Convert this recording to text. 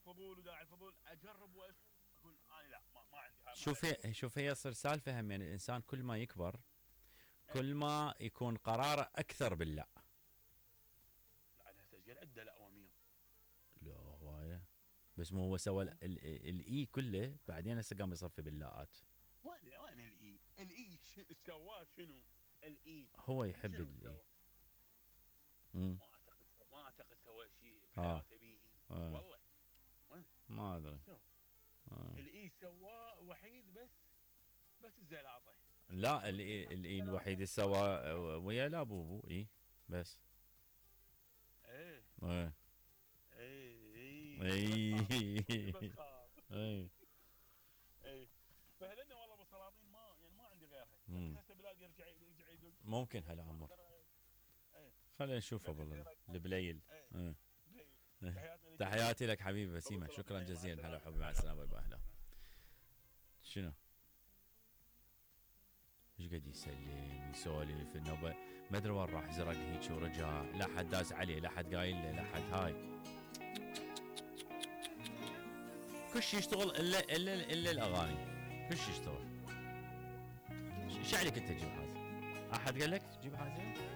الفضول وداعي الفضول اجرب واشوف، اقول انا لا ما عندي هاي. شوف هي يصير سالفه هم، يعني الانسان كل ما يكبر كل ما يكون قراره اكثر باللا. لا على سجل عده لا ومية. لا هوايه، بس مو هو سوى الاي كله بعدين هسه قام يصفي باللاءات. وين الاي سواه شنو؟ الاي هو يحب شنو الاي. سوى؟ ما اعتقد سوى شيء بحياته به. والله وين؟ ما ادري. الاي سواه وحيد بس الزلاطه. لا الاي الوحيد اللي سوى ويا لا بوبو اي بس. ايه ايه ايه اي اي ايه. فهذني والله ابو سلاطين ما عندي غيرها. هسه بلاقي يرجع يقول ممكن هلا عمر. خلينا نشوف ابو البليل. تحياتي لك حبيبي بسيمه، شكرا جزيلا. هلا حبيبي، مع السلامه. باي باي. شنو؟ ايش قاعد يسلم يسولف النوبه، ما ادري وين راح زرق هيك ورجع، لا حد داس عليه، لا حد قايل له، لا حد هاي. كل شيء يشتغل الا الاغاني، كل شيء يشتغل. ايش عليك انت تجيب حاجه؟ احد قال لك تجيب حاجه؟